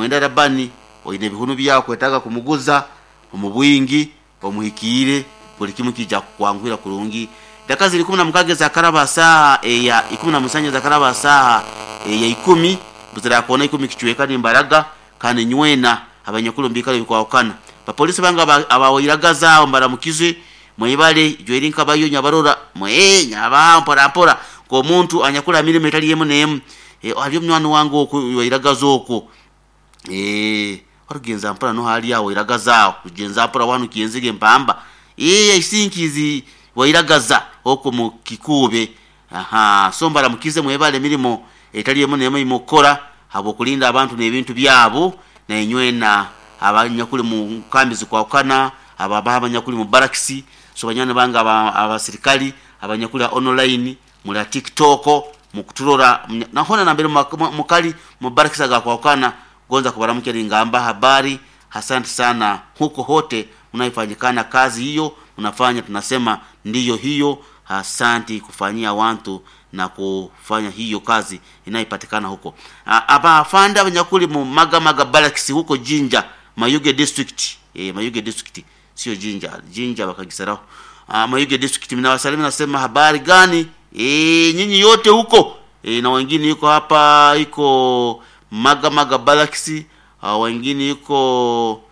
Mwenda Rabani oine ebihunu byawe okwetaaga kumuguza omu bwingi omuhikiire buli kimu kiija kukwanguhira kurungi. Edaka ziri 16 ezakaraba ha saaha eya 17 ezakaraba ha saaha eya ikumi buzirakoona ikumi kicweka nimbaraga kandi nywena abanyakuli omu biikaro ebikwahukana. Bapoliisi bange aba Wairagaza aho mbaramukize mwebale Jweri Nkabayo Nyabarora mwee nyabaha mpora mpora nk'omuntu anyakuli ha mirimo etali emu n'emu. Haliyo munywani wange okwo Wairagaza okwo orugenza mpora nuho ali aho Wairagaza aho rugenza mpora wanuka enzige empamba I think is Wairagaza okwo mu Kikuube. Ahaa so mbaramukize mwebale emirimo etali emu n'emu ei mukukora habw'okulinda abantu n'ebintu byabo nainywena abanyakuli mu nkambi ezikwahukana, abo abanyakuli mu barakisi, so banywani bange abasirikali abanyakuli ha online muli ha tiktok mukuturora na hoona nambere mukali mu barakisi agakwahukana gonza kubaramukya ningamba habari asante sana huko hote munaifanyikana kazi hiyo munafanya tunasema ndiyo hiyo asanti kufanyia wantu na kufanya hiyo kazi inayopatikana huko. Abafande abanyakuli mu Magamaga Barracks huko Jinja, Mayuge District. Mayuge District sio Jinja, Jinja bakagisaraho. Mayuge District minawasalimu nasema habari gani? Nyinyi yote huko. Na wengine yuko hapa iko Magamaga Barracks, wengine yuko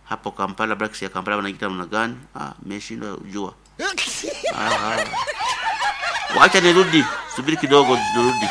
hapo Kampala Barracks ya Kampala wanaita namna gani? Nimeshindwa kujua. Wacha nirudi, subiri kidogo nirudi.